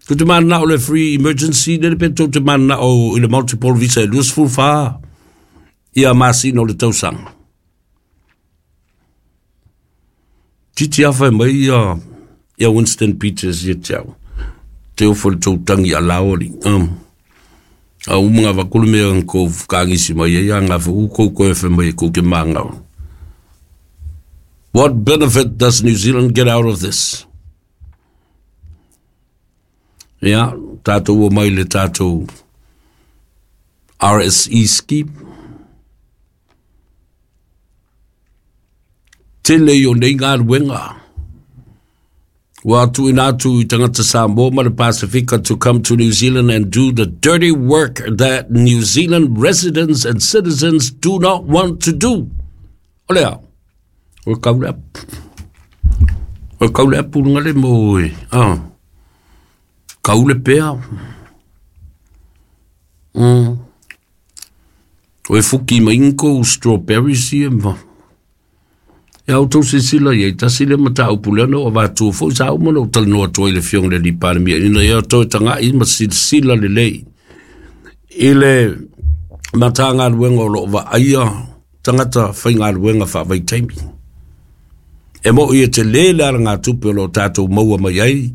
Tou te mananao i le free emergency lele pe tou te mananao i le multiple visa e 24 ia masina o le tausaga. Titi afa e mai ia ia Winston Peters ia te au. Te ofo le tou tangi a lao ali. A uma ngā vakulu mea ang kou whakangisi mai ai, a ngā whu kou koe whe mai e kou ke māngau. What benefit does New Zealand get out of this? Ia, tātou o mai le tātou RSE scheme. Tele i o nei galuega. Ua tuuina atu i tagata Samoa ma le Pasifika to come to New Zealand and do the dirty work that New Zealand residents and citizens do not want to do. O lea, o kau le o kau le apu lunga le mo e. Ah. Kau le pea. O e fuki mai inko strawberries ia ma. Ia outou silasila i ai, tasi lea mataupu lea na ou avatua foi sa uma ona ou talanoa atu ai i le Afioga i le Alii Palemia ina ia toe tagai ma silasila lelei i le Matagaluega o lo o vaaia tagata faigaluega faavaitaimi. E moʻi e tele le alagatupe o lo o tatou maua mai ai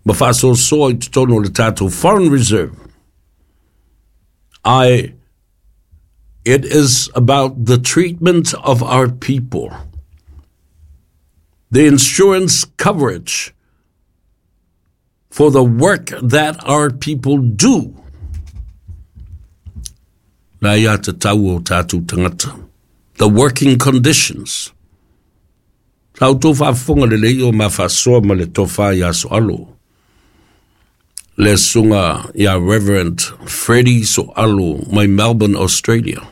ma faasoasoa i totonu o le tatou Foreign Reserve. Ae it is about the treatment of our people. The insurance coverage for the work that our people do. La ia te tau o tātou tangata. The working conditions. Sa outou faafofoga lelei o ma faasoa ma le tofa ia Soalo. Le susuga ia Reverend Freddie Soalo mai Melbourne, Australia.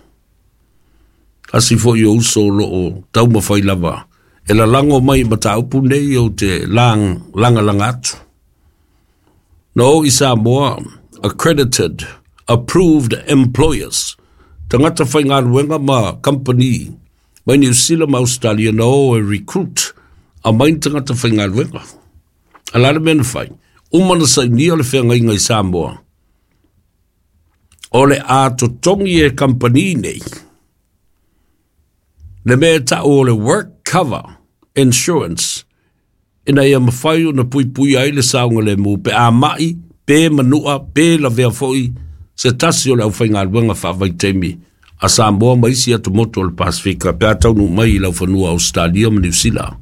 Tasi foi o uso o lo o taumafai lava e lalago mai i mataupu nei ou te lagalaga atu. Na o i Samoa, accredited, approved employers, tagata faigaluega ma kamupani mai Niu Sila ma Ausetalia na o e recruit aumai ni tagata faigaluega. A le a le mea na fai? Uma na sainia le feagaiga i Samoa, o le a totogi e kamupani nei le mea e tau o le work cover insurance ina ia mafai ona puipuia ai le saogalemu pe a mai, pe manua, pe lavea foi se tasi o le aufaigaluega faavaitaimi a Samoa ma isi atumotu o le Pasefika pe a taunuu mai i laufanua o Ausetalia ma Niu Sila. O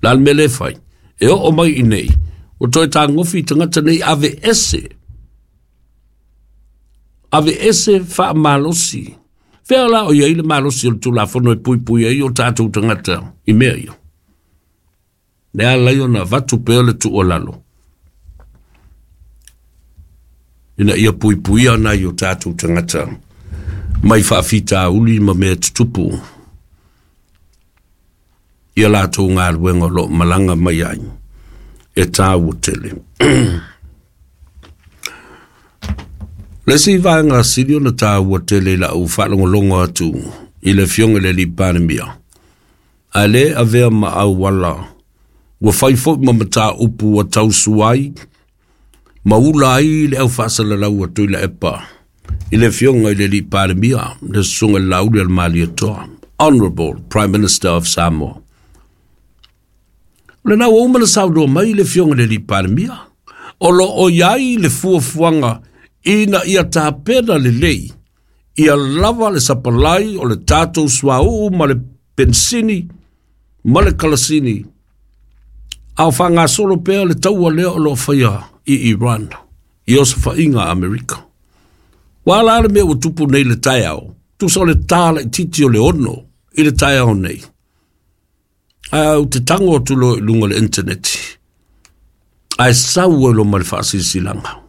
le a le mea lea e fai? E oo mai i nei, ua toe tagofi i tagata nei aveese, aveese faamalosi. Fea la o i ai le malosi o le Tulafono e puipui ai o tatou tagata i mea ia? Le ala ai ona avatu pea le tuualalo ina ia puipuia nai o tatou tagata mai faafitauli ma mea tutupu i a latou galuega o lo o malaga mai ai e tāua tele. Le isi vaega sili ona tāua tele i lau faalogologo atu i le Afioga i le Alii Palemia, ae le avea ma auala ua fai foi ma mataupu ua tausua ai ma ula ai le aufaasalalau a Tuilaepa i le Afioga i le Alii Palemia, le Susuga i le Laauli a le Malietoa, Honourable Prime Minister of Samoa. O lena ua uma ona saunoa mai le Afioga i le Alii Palemia, o lo o i ai le fuafuaga ina ia tapena lelei ia lava le sapalai o le tatou suauu ma le penisini ma le kalasini, a o faagasolo pea le taua lea o lo o faia i Iran i osofaiga a Amerika. Ua ala le mea ua tupu nei le taeao, tusa o le tā laitiiti o le 6 i le taeao nei. Ae ou te tango atu loa i luga o le internet, ae sau ai loa ma le faasilasilaga.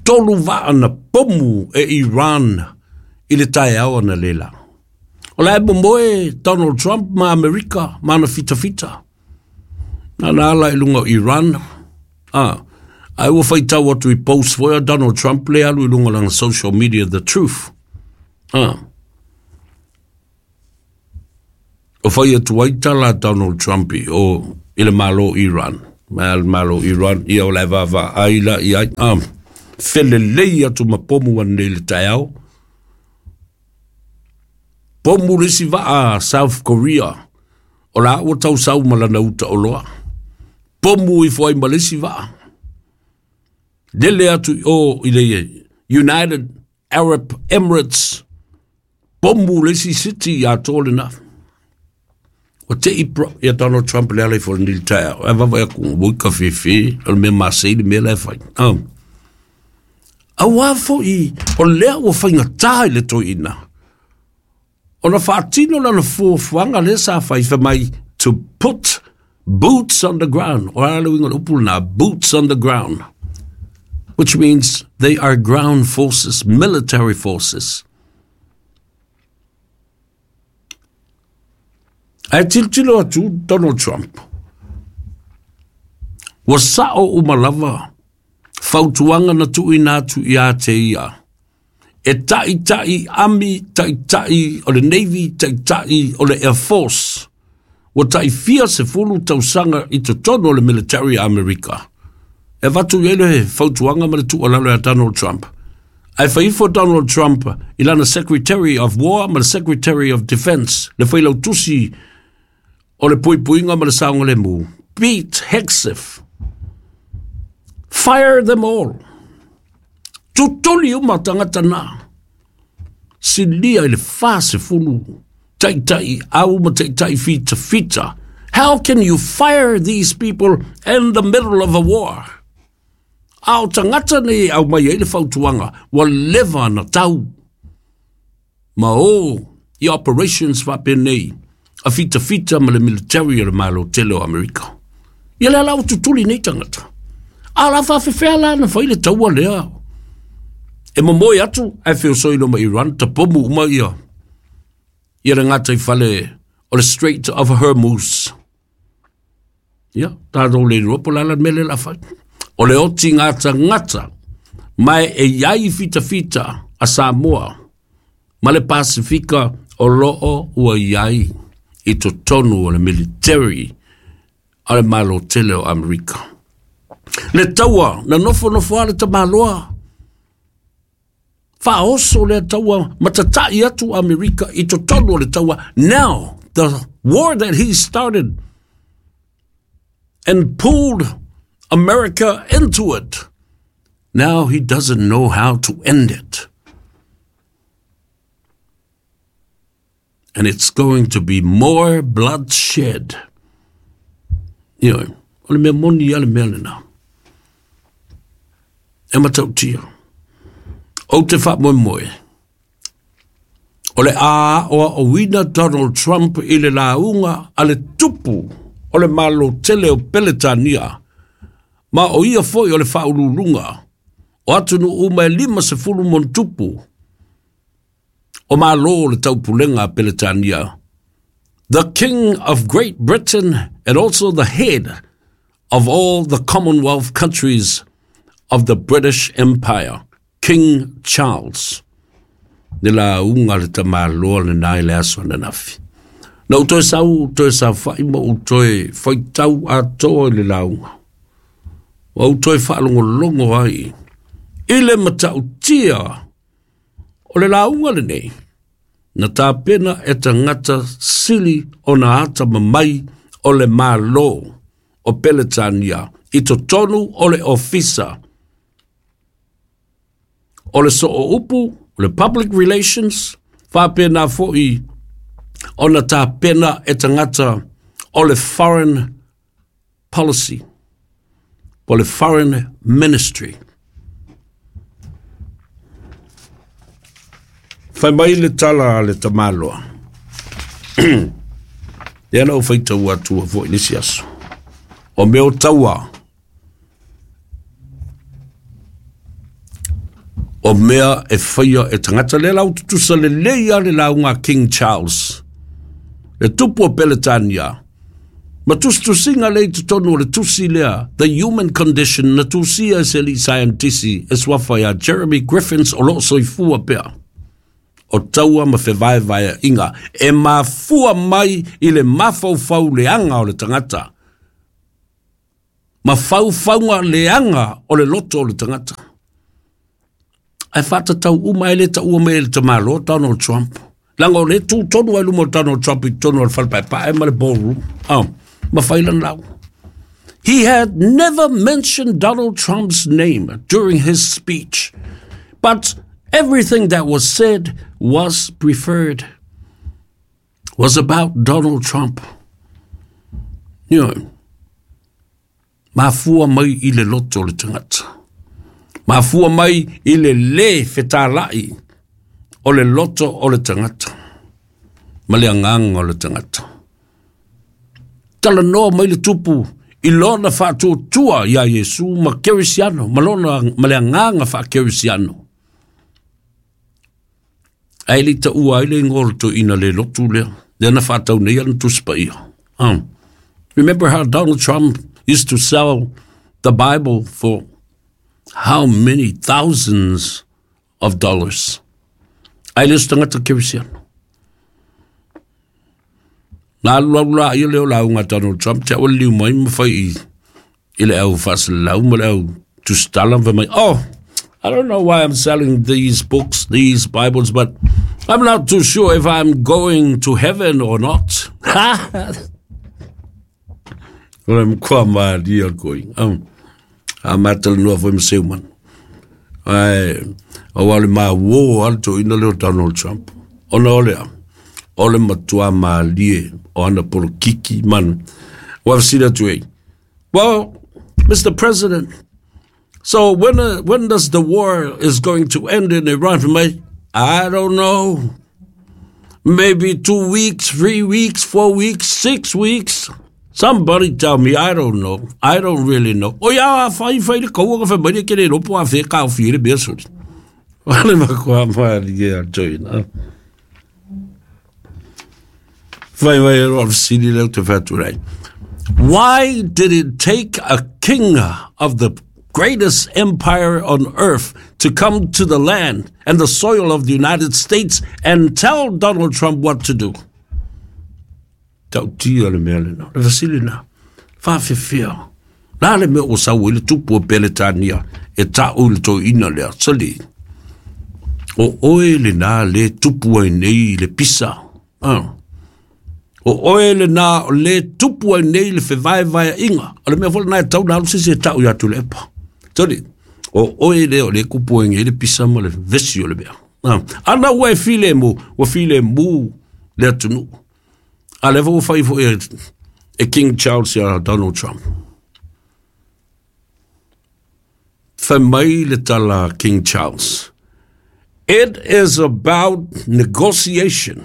3 vaa na pomu e Iran i le taeao analeila. O la e momoe Donald Trump ma Amerika ma ana fitafita. Na na ala i luga o Iran. Ae ua faitau atu i post foi a Donald Trump le alu i luga o lana social media, The Truth. O fai atu ai tala a Donald Trump i, o, i le Malo o Iran. Ma le Malo o Iran, ia o le vaavaai la i ai. Felelei atu ma pomu ananei i le taeao. Pomu le isi vaa South Korea, o la ua tausau ma lana uta oloa. Pomu ifo ai ma le isi vaa. Lele atu i o i le United Arab Emirates, pomu le isi city atoa lena. Ua te i pro, ia Donald Trump le ala ifo le nili taeao. Ae vavaai atu, ua i ka fefe, o le mea masei le mea la e fai. Auā foi o lea ua faigata i le toeaina ona faatino lana fuafuaga lea sa fai, fai mai to put boots on the ground. O a le uiga o le upu lena, boots on the ground, which means they are ground forces, military forces. Ae tilotilo atu Donald Trump, ua sao uma lava fautuaga na tuuina atu ia te ia e ta'ita'i ami, ta'ita'i o le Navy, ta'ita'i o le Air Force, ua ta'ifia 10 tausaga i totonu o le military a Amerika. E avatu i ai le fautuaga ma le tuualalo ia Donald Trump. Ae fai ifo Donald Trump i lana Secretary of War ma le Secretary of Defense, le failautusi o le puipuiga ma le saogalemu, Pete Hegseth, fire them all. Tutuli uma tagata na. Silia i le 40 ta'ita'i au ma ta'ita'i fitafita. How can you fire these people in the middle of a war? A o tagata nei e aumai ai le fautuaga, ua leva na tau ma o i operations faapenei a fitafita ma le military o le Malo tele o Amerika. Ia lea la ua tutuli nei tagata. A o la faafefea la na fai le taua lea e momoe atu ae feosoi loa ma Iran, tapomu uma ia ia le gataifale o le Strait of Hormuz. Ia, tatou le iloa po o le a la le mea lea o le a fai. O le oti gatagata, ma e i ai fitafita a Samoa ma le Pasefika o loo ua i ai i totonu o le military a le Malo tele o Amerika. Le taua na nofonofo lava le tamaloa, faaoso lea taua ma tata'i atu Amerika i totonu o le taua. Now, the war that he started and pulled America into it, now he doesn't know how to end it. And it's going to be more bloodshed. Ioe, o le mea moni a le mea lena. E matautia. Ou te faamoemoe, o le a aoaoina Donald Trump i le lauga a le tupu o le Malo tele o Peletania, ma o ia foi o le faauluuluga o atunuu uma e 50+ o Malo o le Taupulega a Peletania, the King of Great Britain and also the head of all the Commonwealth countries of the British Empire, King Charles. Le lauga a le tamaloa lena i le aso ananafi. Na ou toe sau, toe saofai ma ou toe faitau atoa i le lauga. Ua ou toe faalogologo ai i le matautia o le lauga lenei na tapena e tagata sili ona atamamai o le Malo o Peletania i totonu o le Ofisa o le Sooupu, o le Public Relations, faapena foi ona tapena e tagata o le Foreign Policy, po o le Foreign Ministry. Fai mai le tala a le tamaloa. Lea na ou faitau atua foi i le isi aso. O mea o taua, o mea e faia e tagata. Lea la ua tutusa lelei lava le lauga a King Charles, le tupu o Peletania, ma tusitusiga lea i totonu o le tusi lea, The Human Condition, na tusia e se alii saienitisi e suafa ia Jeremy Griffins o lo o soifua pea. O taua ma fevaevaeaiga e mafua mai i le mafaufau leaga o le tagata. Ma faufauga leaga o le loto o le tagata. Ae faatatau uma e le taua mai e le tamaloa Donald Trump. Leaga o lea e tu tonu ai luma o Donald Trump i totonu o le fale paepae ma le ballroom. Oh, ma fai lana lauga. He had never mentioned Donald Trump's name during his speech, but everything that was said was preferred, was about Donald Trump. You know, mafua mai i le loto o le tagata. Mafua mai i le lē fetalai o le loto o le tagata ma le agaga o le tagata. Talanoa mai le tupu i lona faatuatua iā Iesu ma Kerisiano ma lona ma le agaga faakerisiano. Ae le i taua ai le igoa o le toeaina le lotu lea, lea na faatau nei ana Tusi Paia. Remember how Donald Trump used to sell the Bible for how many thousands of dollars? Ae le o se tagata kerisiano. Na alu alu la ia lea o lauga a Donald Trump, te au e liliu mai ma fai i, i le au faasalalau ma le au tusitala ma fai mai, oh, I don't know why I'm selling these books, these Bibles, but I'm not too sure if I'm going to heaven or not. O le matua malie o le koiga. A matalanoa foi ma Seuman. Ae, aua o le mauō lava le toeaina lea o Donald Trump. Ona o le a? O le matua malie o ana polokiki ma ana... Ua fesili atu ai, Well, Mr. President, so when, when does the war is going to end in Iran? Fai mai, I don't know. Maybe 2 weeks, 3 weeks, 4 weeks, 6 weeks. Somebody tell me, I don't know. I don't really know. O ia, fai fai le kaua ka fai mai le ke le lopo a fe ka ofi le mea soli. O le makoa malie a toeaina. Fai mai e roa fesili lea ou te fai atu nei. Why did it take a king of the greatest empire on earth to come to the land and the soil of the United States and tell Donald Trump what to do? Tautia le mea lena. Le fesili lena. Faafefea. La le mea ua sau ai le tupu o Peretania e ta'u i le toeaina lea, sali. O oe lena le tupu ai nei i le pisa. Ah. O oe lena o le tupu ai nei le fevaevaeaiga. O le mea foi lena e tatau ona alu se isi e ta'u ia Tuilaepa. Sali. O oe lea o le kupu ai nei le pisa ma le vesi o le mea. Ah. Ana ua e filemu, ua filemu le atunuu. A lea foi ua fai foi e, e King Charles ia Donald Trump. Fai mai le tala King Charles. It is about negotiation.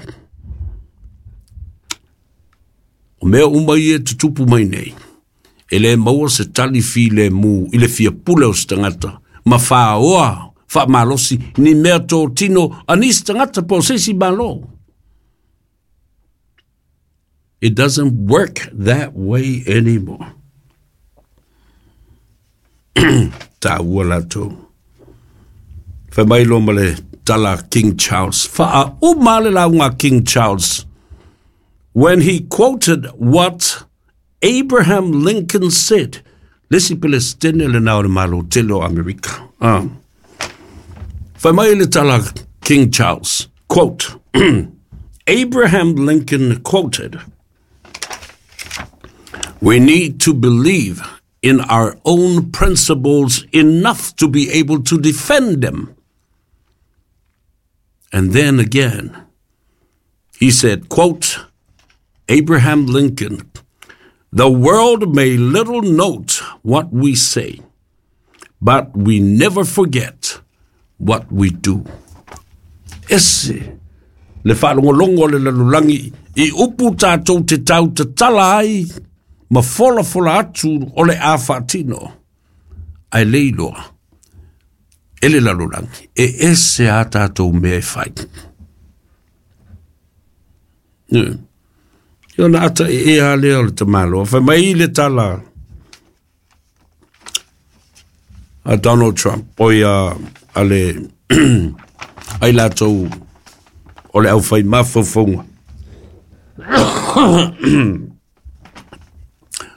O mea uma ia e tutupu mai nei, e le maua se tali filemu i le fia pule o se tagata ma faoa faamalosi ni mea totino a nisi tagata po o se isi Malo. It doesn't work that way anymore. Tāua latou. Fai mai loa ma le tala King Charles. Faauma le lauga King Charles when he quoted what Abraham Lincoln said. Le isi Pelestene lena o le Malo tele o Amerika. Ah. Fai mai le tala King Charles, quote, Abraham Lincoln quoted, We need to believe in our own principles enough to be able to defend them. And then again, he said, quote, Abraham Lincoln, the world may little note what we say, but we never forget what we do. Ese le faalogologo a le lalolagi i upu tatou te tau tatala ai ma folafola atu o le a faatino. Ae le iloa e le lalolagi e ese a tatou mea e fai. Ia ona ata e ea lea o le tamaloa. Fai mai le tala a Donald Trump, o ia a le ai latou o le aufai mafaufauga.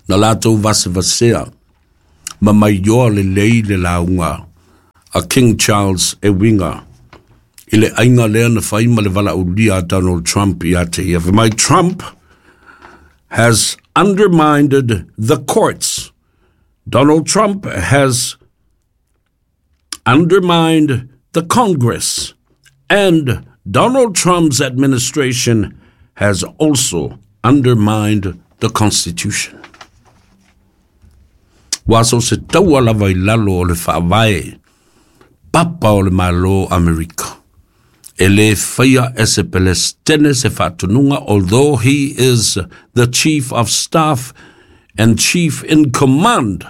Na latou vasevasea Ma maioa lelei le lauga a King Charles e uiga i le aiga lea na fai ma le valaaulia a Donald Trump ia te ia. Fai mai, Trump has undermined the courts. Donald Trump has undermined the Congress. And Donald Trump's administration has also undermined the Constitution. Ua so se taua lava i lalo o le faavae papa o le Malo Amerika. E le faia e se Pelestene se faatonuga, although he is the chief of staff and chief in command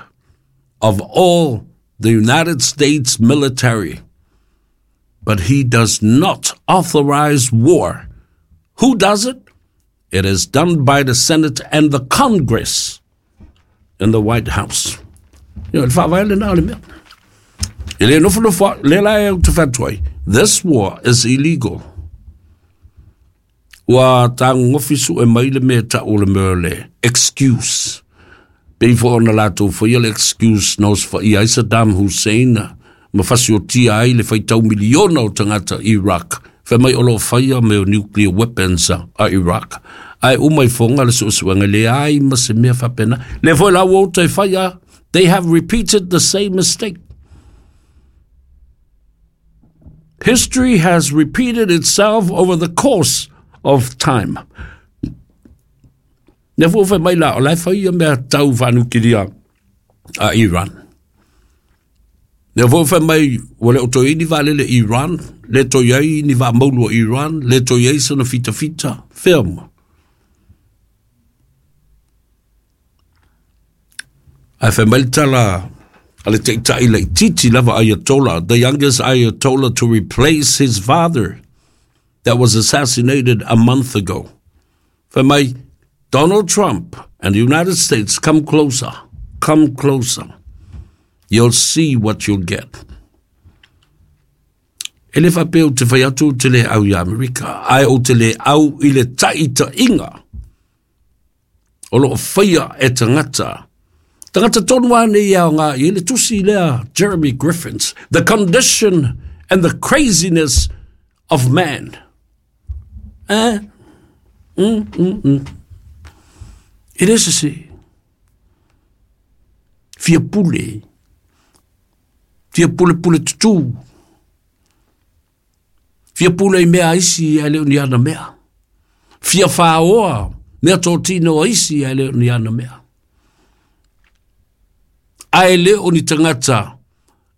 of all the United States military. But he does not authorize war. Who does it? It is done by the Senate and the Congress in the White House. Le faavae lena o le mea. E le nofonofo le la e te fai atu ai. This war is illegal. Ua tagogofi sue mai le mea ta'u le mea le excuse. Pei foi ona latou faia le excuse na osofaia ai Saddam Hussein ma fasiotia ai le faitau miliona o tagata Iraq. Fai mai o loo faia mea o nuclear weapons a Iraq. Ae uma ifoga le suesuega leai ma se mea faapena. Le foi la ua uta e faia. They have repeated the same mistake. History has repeated itself over the course of time. Lea foi ua fai mai la, o la e fai ia mea tau faanukilia a Iran. Lea foi ua fai mai, ua le o toe i ni vaalele Iran, le toe i ai ni vaa maulu a Iran, le toe i ai sana fitafita, fea ma. Ae fai mai le tala a le taitai laitiiti lava Ayatollah, the youngest Ayatollah to replace his father that was assassinated a month ago. Fai mai, Donald Trump and the United States, come closer, come closer. You'll see what you'll get. E le faapea ou te fai atu ou te le au i Amerika, ae ou te le au i le taitaiga o loo faia e tagata. Tagata tonu lava nei e aoga i ai le tusi lea Jeremy Griffins, The Condition and the Craziness of Man. Eh? E le sese. Fia pule. Fia pule pule tutū. Fia pule i mea a isi ae le o ni ana mea. Fia whāoa mea tōtino a isi ae le o ni ana mea. Ae le o ni tagata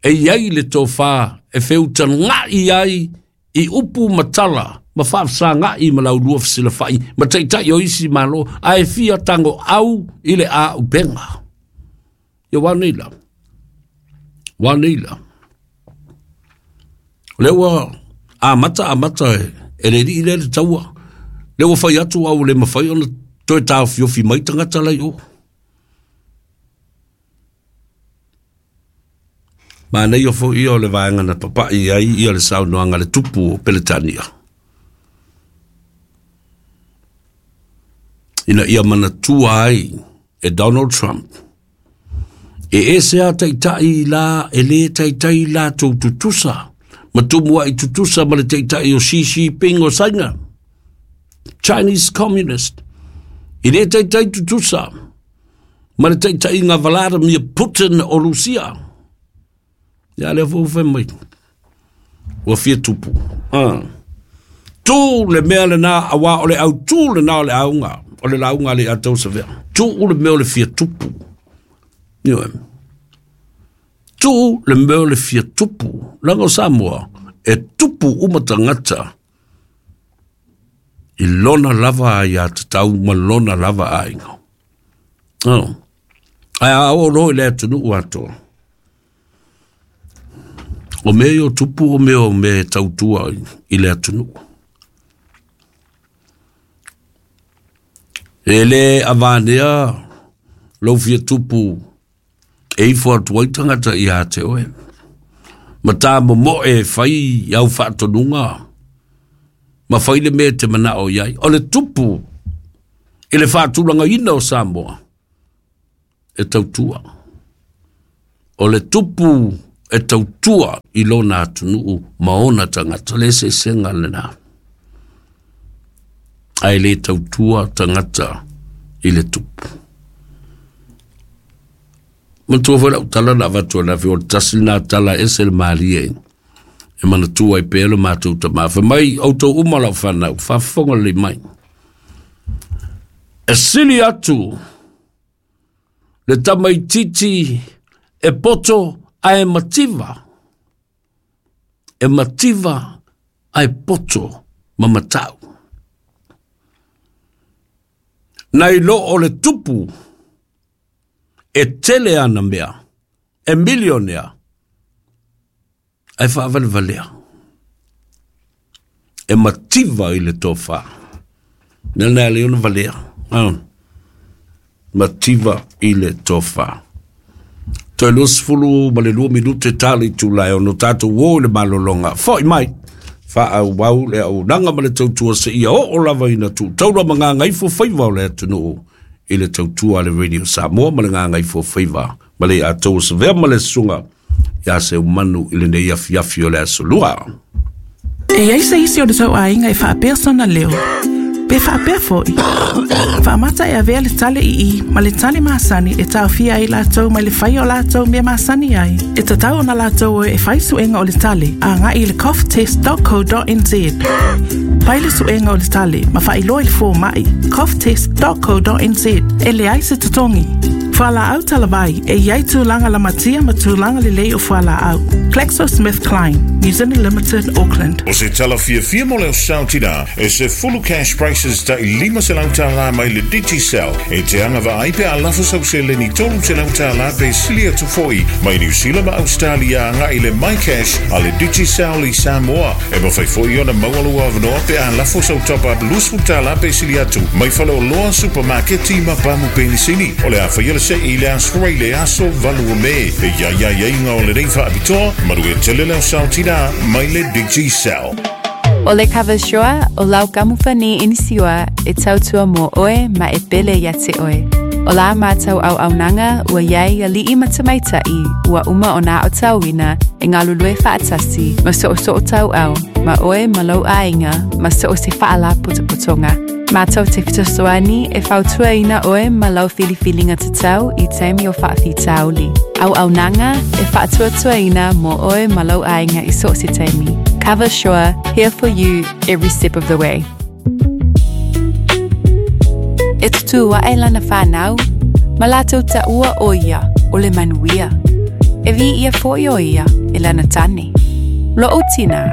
e i ai le tofā e feutaga'i ai i upu ma tala ma faafesaga'i ma laulua fesilafa'i ma taitai o isi Malo, ae fia tago'au i le āupega. Ia ua nei la. Ua nei la. O lea ua amata amata e le alii lea le taua. Lea ua fai atu a ua le mafai ona toe taofiofi mai tagata la i o. Manaia foi ia o le vaega na papai ai ia le saunoaga a le tupu o Peretania. Ina ia manatua ai e Donald Trump e ese a taitai la e le taitai latou tutusa ma tumua'i tutusa ma le taitai o Xi Jinping o Saina, Chinese Communist. E le taitai tutusa ma le taitaiga Vladimir Putin o Rusia. Ia lea foi ua fai mai, ua fia tupu. Ah. Tū le mea lena, auā o le autū lena o le auga, o le lauga a le Atausavea. Tū le mea o le fia tupu. Ioe. Tū le mea o le fia tupu. Leaga o Samoa, e tupu uma tagata i lona lava aiatatau ma lona lava aiga. Oh. Ae a oo loa i le atunuu atoa, o mea ia o tupu o mea o mea e tautua i le atunuu. E le avanea lou fia tupu e ifo atu ai tagata ia te oe. Ma tā momoe e fai i au faatonuga ma fai le mea e te manao i ai. O le tupu i le faatulagaina o Samoa e tautua. O le tupu e tautua i lona atunuu ma ona tagata, le eseesega lena. Ae le tautua tagata i le tupu. Manatua foi lau tala na avatu ananafi, o le tasi lena tala e ese le malie e manatua ai pea lo matou tama. Fai mai, outou uma lau fanau, faafofoga lelei mai. E sili atu le tamaitiiti e poto ae mativa, e mativa ae poto ma matau. Nai lo o le tupu e tele ana mea, e milionea, ae faavalevalea. E mativa i le tofa. Mea lena e ala ai ona valea. Ah. Mativa i le tofa. Toe 22 minute ta le itula e ono tatou o i le malologa. Foi mai, faaauau le auaunaga ma le tautua seia oo lava ina tuutaula ma gagaifo faiva o le atunuu i le tautua a le Radio Samoa ma le gagaifo faiva ma le Atou Savea ma le Susuga ia Seumanu i lenei afiafi o le Aso Lua. E i ai se isi o le tou aiga e faapea sona leo, pe faapea foi. Faamata e avea le tale ii ma le tale masani e taofia ai latou mai le faia o latou mea masani ai. E tatau ona latou o e fai suega o le tale agai i le coughtest.co.nz. Fai le suega o le tale ma faailoa i le fomai coughtest.co.nz. E leai se totogi. Fualaau talavai, e i ai tulaga lamatia ma tulaga lelei o fualaau. GlaxoSmithKline, New Zealand Limited, Auckland. O se tala fiafia mo le sao tina, e sefulu cash prices tai $500 mai le Digicel e te agavaa ai pe a lafo sau seleni $300 pe sili atu foi mai Niu Sila ma Ausetalia agai i le MyCash a le Digicel i Samoa. E mafai foi ona maua lou avanoa pe a lafo sau top-up $20 pe sili atu mai faleoloa, supamaketi ma pamu penisini. O le a faia le se'i i le Aso Faraile aso 8 o Me. E i ai aiaiga o lenei faapitoa, manuia tele le ao tina mai le Digicel. O le Kava Sure, o lau kamupani inisiua e tautua mo oe ma e pele ia te oe. O la mātou auaunaga ua i ai aliʻi ma tamaitai ua uma ona aotauina e galulue faatasi ma soosoo tauau ma oe ma lou aiga ma so o se faalapotopotoga. Mātou te fesoasoani e fautuaina oe ma lau filifiliga tatau i taimi o faafitauli. Auaunaga e faatuatuaina mo oe ma lou aiga i so o se taimi. Cover Sure, here for you every step of the way. E tutū aʻe lana whānau, ma lātou taua ʻo ia o le manuia. E viia foi ʻo ia e lana tane. Loʻu tinā.